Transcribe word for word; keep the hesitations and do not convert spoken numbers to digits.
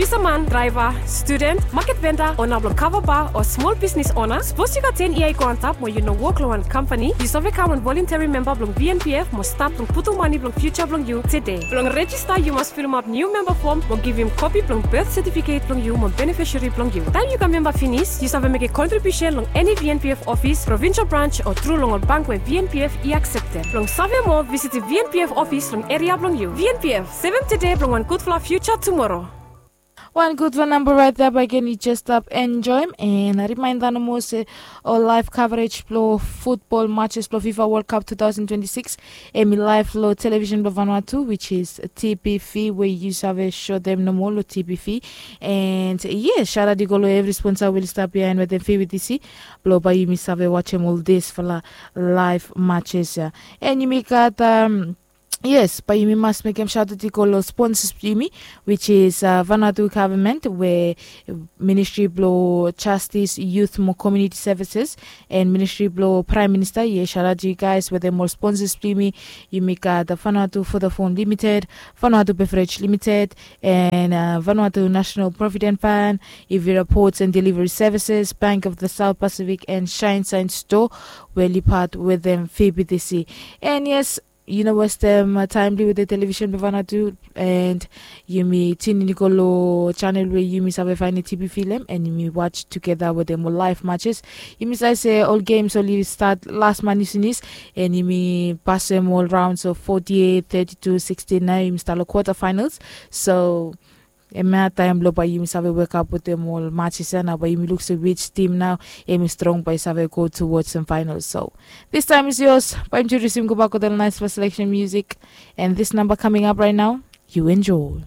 Bisaman, draeva, studen, maket venda, ona blong kava ba o smol bisnis ona, sapos yu gat ten yia i go antap mo yu no wok long wan kampani, yu save kam wan volonteri memba blong V N P F mo stat blong putum mane blong fiuja blong yu tede. Blong rejista yu mas filimap niu memba fom mo givim kopi blong bet setifiket blong yu mo benefisari blong yu. Taem yu kam memba finis, yu save mekem kontribiusen long eni V N P F ofis, provinsel brans o tru long ol bank we V N P F i akseptem. Blong save moa, visitim V N P F ofis long eria blong yu. V N P F, sevem tede blong wan gudfala fiuja tumoro. Wan gudfala namba raet ya, bae gen yu jes stap enjoem. And rimaenda nomo se ol laef kavrej blong futbol matches blong FIFA World Cup two thousand twenty-six em i laef long television blong Vanuatu, which is T P V, we yu save sotem nomo long T P V. And yes, sharat i go long evri sponsa we oli stap biaen wetem V B T C blong bae yumi save wajem ol disfala laef matches ya. And yumi gat um, yes, bae yumi mas mekem sharat i go long sponsas blong yumi, which is uh, Vanuatu government, we Ministry blong Justice, Youth mo Community Services, and Ministry blong Prime Minister. Yes, sharat yu guys wetem ol sponsas blong yumi. Yumi gat uh, Vanuatu Vodafone Limited, Vanuatu Beverage Limited, and uh, Vanuatu National Provident Fund, Ivira Ports and Delivery Services, Bank of the South Pacific, and Shine Shine Store, we oli pat wetem V B T C. And yes, yu no westem uh, taem blong yu wetem television blong Vanuatu, and yumi tune in i go long channel we yumi save faenem T P V long hem, and yumi watch tugeta wetem ol laef matches. Yumi save se ol games oli stat las man i finis, and yumi pasem ol rounds of forty-eight, thirty-two, sixteen, nao yumi stap long quarter finals. So hemia taem blong bae yumi save wekap wetem ol matches ya, nao bae yumi luk se which team nao hemi strong bae i save go towards the finals. So this time is yours. Bae yumi introdiusim gobak wetem ol naesfala selection music. And this number coming up right now, you enjoy.